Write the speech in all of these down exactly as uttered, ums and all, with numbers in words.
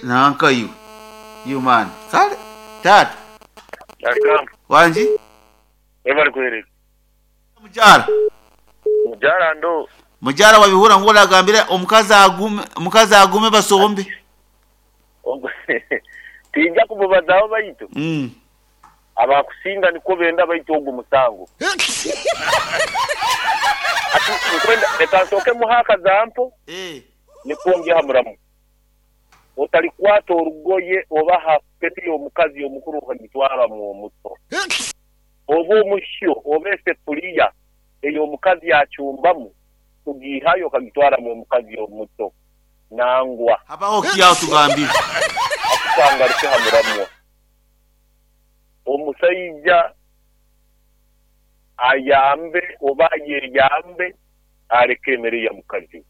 Nanka iwe you man kale tata. Wanji ebali kwereka mujara. Mujara ndo mujara wabihura ngo nagambira omukazi agume, omukazi agume basombe. Tinja kumubazaho baitu. Mm. Abakusinga niko benda baitu ogwo musango. Ati nkwenda reka muhaka zampo. Eh. Nikuongea hamuramu. Otalikwata orugoye oba hapeti omukazi omukuru okagitwara mu muto. Oba omushyo oba esefuriya eyo omukazi yachumbamu tugihayo okagitwara mu mukazi omuto. Nangwa. Habaho kiyaho tugambira. Akusangaruke hamuramu. Omusaija ayambe oba yeyambe aleke emere ya mukazi.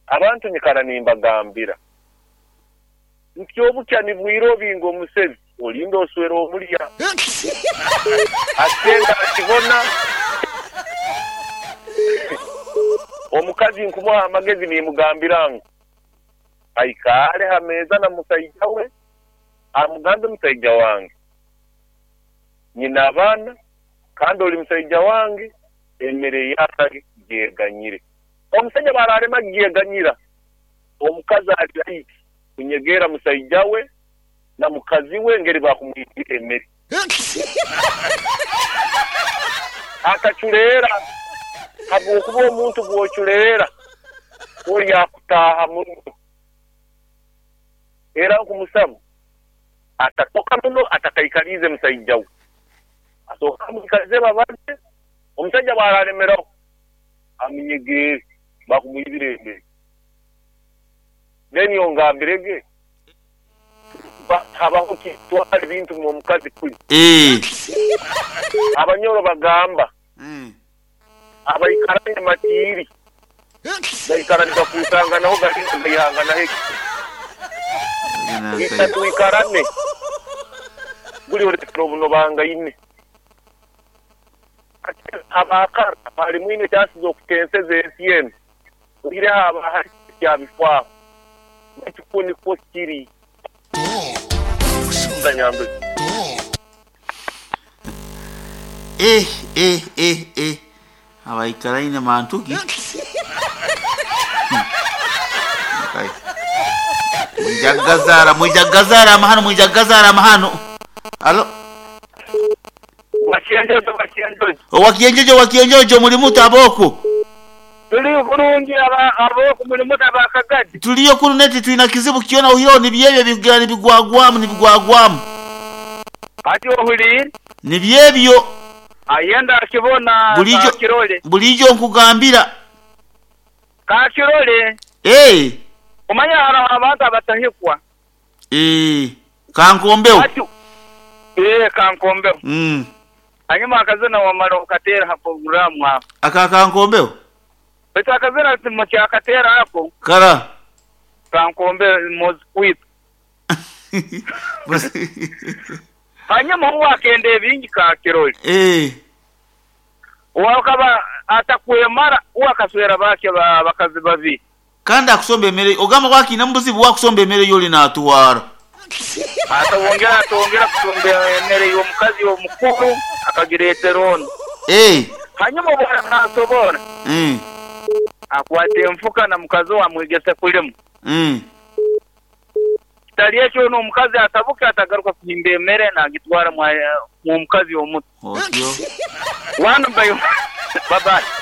Abantu nyikara nimbagambira nti obukya nibwira obinga omusezi olinda oswera omulya atenda akibona. Omukazi nkumuha amagezi nimugambira ngu aikare hameza na musaija we, amugambe musaija wange nyina abaana kandi oli musaija wange emere yake gyeganyire. Omusajja bararema gyeganyira omukazi ali kunyegera musaija we na mukazi we ngeri bakumwitira emere akachulera. Habwokuba omuntu bwochulera oli akutaha muno era nkumusaba atatoka muno atakaikalize musaija we asoka mukaze babanje omusajja baralemeraho aminyegere bakumwibira emere. Then yongambirege habaho kitwara ebintu mu mukazi kuli. Eh. Abanyoro bagamba mm. Abayikaranye matiri bayikaranye bakusanga naho gahanga heki itatu ikarane buli oretro buno banga ine abakara bali mwine chances okutenseza ensi eno ire haba hari kyabifwa ekikuni ko kiri ndanyambe. Eh eh eh eh abaikaraine mantuki. Okay. Mwijagazara mwijagazara amahano mwijagazara amahano. Alo. Wakienjojo wakienjojo. Wakienjojo wakienjojo muri mutaboko. Tuli kurungi aba aboko muri mutabakagadi. Tuliyo kuru neti tuina kizibu kiona uhiro ni byebyo bigira ni bigwagwamu ni bigwagwamu. Ati ohuli ni byebyo. Ayenda akibona kakirole. Bulijo nkugambira. Kakirole. Eh. Umanya hara abantu abatahikwa. Eh. Kankombeo. Eh kankombeo. Mm. Hanyuma akazina wamara ukatera ha programu hapo. Aka kankombeo. Beta akazina timukyakatera hapo. Kara. Kankombeo mozkwit. Hanyuma huwa akende bingi kakirole. Eh. Wakaba atakwemara huwa kaswera bake bakazi babi. Kandi akusomba emere ogamba wakina mbuzibu wakusomba emere yoli natuwara. Atawongera atongera kusomba emere y'omukazi omukuru akagiretera ono. Eh. Hanyuma bwana asobora. Mm. Akwate enfuka na mukazi wamwegese kulimu. Mm. Kitali ekyo n'omukazi atabuka atagaruka kuhimba emere nagitwara mu mukazi omuto. Otyo. Wanu bayo. Bye bye.